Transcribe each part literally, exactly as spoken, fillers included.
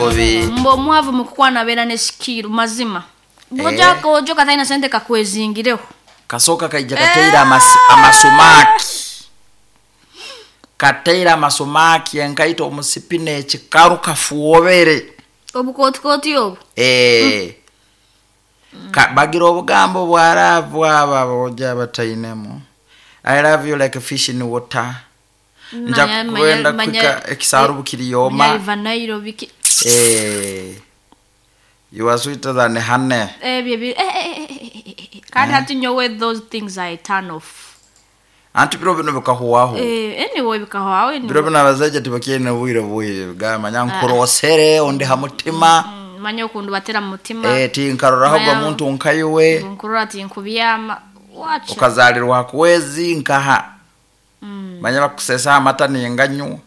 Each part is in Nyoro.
Bubi. Mbo omwavu mukukwana abeera ne sikiiru mazima. Bw'ojja Eh. koojo katalina sente kakwezingireho. Kasooka kaija kateire amas- amasumaki kateire amasumaki enkaito omusipina ekikaru kafuobere. Obukootikooti obwo. Eh. Ka, bagira obugambo bwa love abo aboja batainemu, "I love you like a fish in water." Nja Manya- manya- kwenda manya- kwika ekisaru bukiriyoma. Manya Nairo biki. Eh, you are sweeter than honey. Ebyo ebi- eh, eh, eh, eh, eh, eh. Kandi hati nyowe those things I turn off. Anti biro bino bikahuwaho. Eh, anyway bikahwaho anyway. Biro bino abazaija tibakyine bwire bwire gamanya nkurosere ondi ha mutima. Mm, manya okundu batera mu mutima. Eh, tinkaroraho gwa Manya- muntu nkaiwe. Nkurora ati nkubyama wacha. Ukazalirwa hakuwezi nkaha. Mm, manya bakusesa amata ninganywa.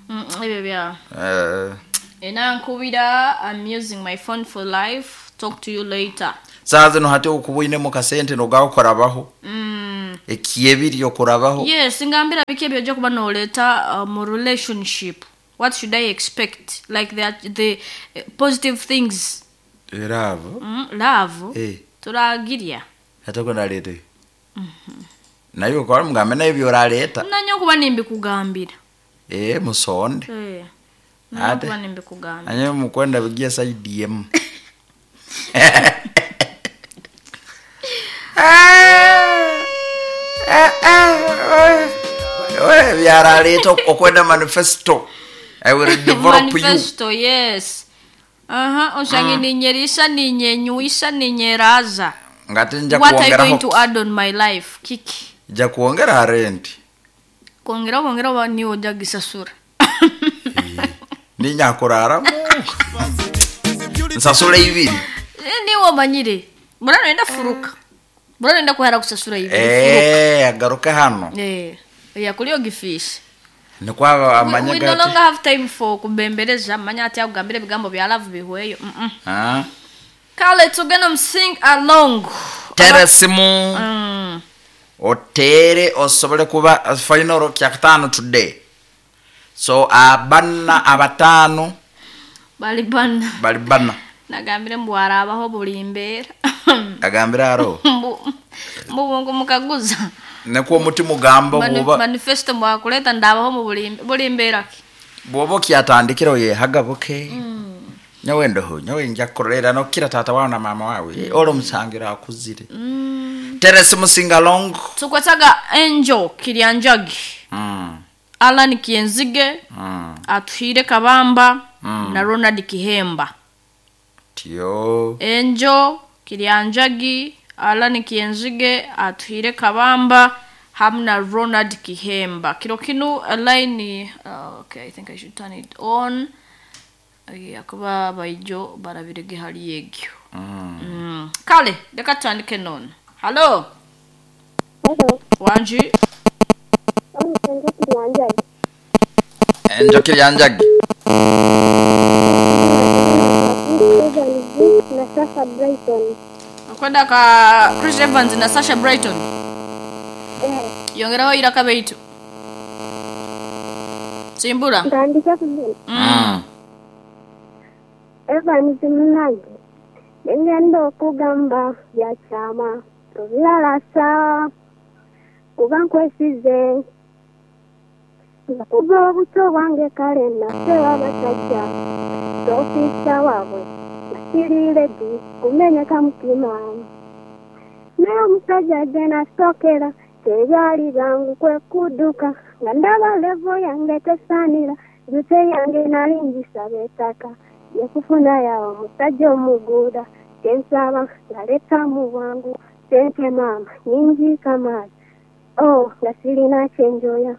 mm, ebyo bya Eh, enankubira. I'm using my phone for life, talk to you later. Saa zino hati okubwinemu kasente nogakurabaho. mm. Ekyebiri okurabaho. Yes, ngambira biki ebyo ojja kuba noleeta uh, mu relationship. What should I expect, like the, the uh, positive things? Era abo. mm, love Eh. turagirya. Ate kwenaleeta naye okola mugambe naye byoraleeta. Nanya okuba nimbikugambira. Eh, musonde. Eh, nanya Ate. okuba nimbikugambira. Anye mukwenda bigia saidi emu. Byaraleeta okwenda manifesto, "I will develop you." Manifesto, yes. Aha, oshange ninyerisa, ninyenyuisa, ninyeraza. Ngate nja What are you going kwongeraho. to add on my life, kiki? Nja kwongera rent. Kwongera kwongera oba niwe ojja gisasura. Ninyakuraramu nsasula ibiri. Eh, niwe omanyire bura noyenda furuka, bura noyenda kuhera kusasura ibiri furuka. Eh, agaruke hano. Eh, yakuli ogifisha. Nikwaba amanya We, we no gati longer have time for kubembereza, manya ati akugambira ebigambo bya love bihweyo. Mm -mm. Ah. Kale tugenda mu sing along. Tera simu. Mm. Otere osobole kuba final kyakataano today, so abanna abataano. Bali bana. Bali bana. Nagambire mbu arabaho buli mbeera. Agambire aro. Mbu mbu mukaguza. Nekuwa omutima ogamba. Mani- Bwoba manifesto mwakuleta ndabaho mu buli buli mbeera ki. Bwoba okyatandikira oyehagabuke nyowe ndoho nyowe nja kukolera nokira taata wawe na maama wawe. Eh, olwo omusangira akuzire. Tera esimu singalong. Tukwetaga Angel Kiryanjagi, Mm, Alan Kienzige, mm. Atuhire Kabamba na Ronald Kihemba. Tyo. Angel Kiryanjagi, Alan Kienzige, Atuhire Kabamba hamwe na Ronald Kihemba. Kiro kinu line uh, okay, I think I should turn it on. Yeah, kuba baijo barabirege hali egyo. Mm. Mm. Kale reka tutandike none. Hallo. Hello, wanji. omusenga Kiryanjagi. Enjo Kiryanjagi. Evans na Sasha Brighton. Akwenda ka Chris Evans na Sasha Brighton. Eh, Yongeraho iraka beitu simbura. Ntandike kugenda. Mm. Evans munange, nengenda okugamba bya kyama tobilalasa kuba nkwesize nga kuva obuto bwange kale nafewa abasajja tofiisa waabwe nga siri ready kumenyeka mutima, naye omusajja gye nasookera tebyali byangu kwe kudduka nga ndaba level yange tesaanira jute yange nali ngisaba ettaka yekufuna yawo omusajja omuguuda kyensaba ngaleeta mu bwangu sente maama nyingi kamaali oh nga sirina kyenjoya,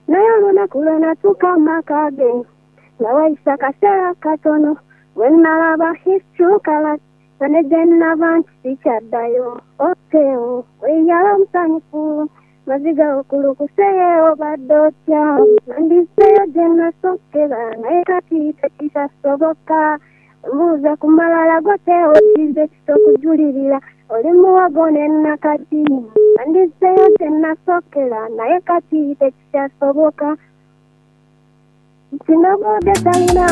naye olunaku lwe natuuka mu maka ge nga wayisa kaseera katono bwe nalaba his true colours nga ne gye nava nti sikyaddayo oteo weyala omusanyufu maziga okulukuseyo obadde otya nandizeeyo gye nasookera naye kati tekikyasoboka mbuuza ku malala goteo kize kitokujulirira oli muwogo ne nakati nandizeeyo gye nasookera naye kati tekikyasoboka. Sinobodde talina.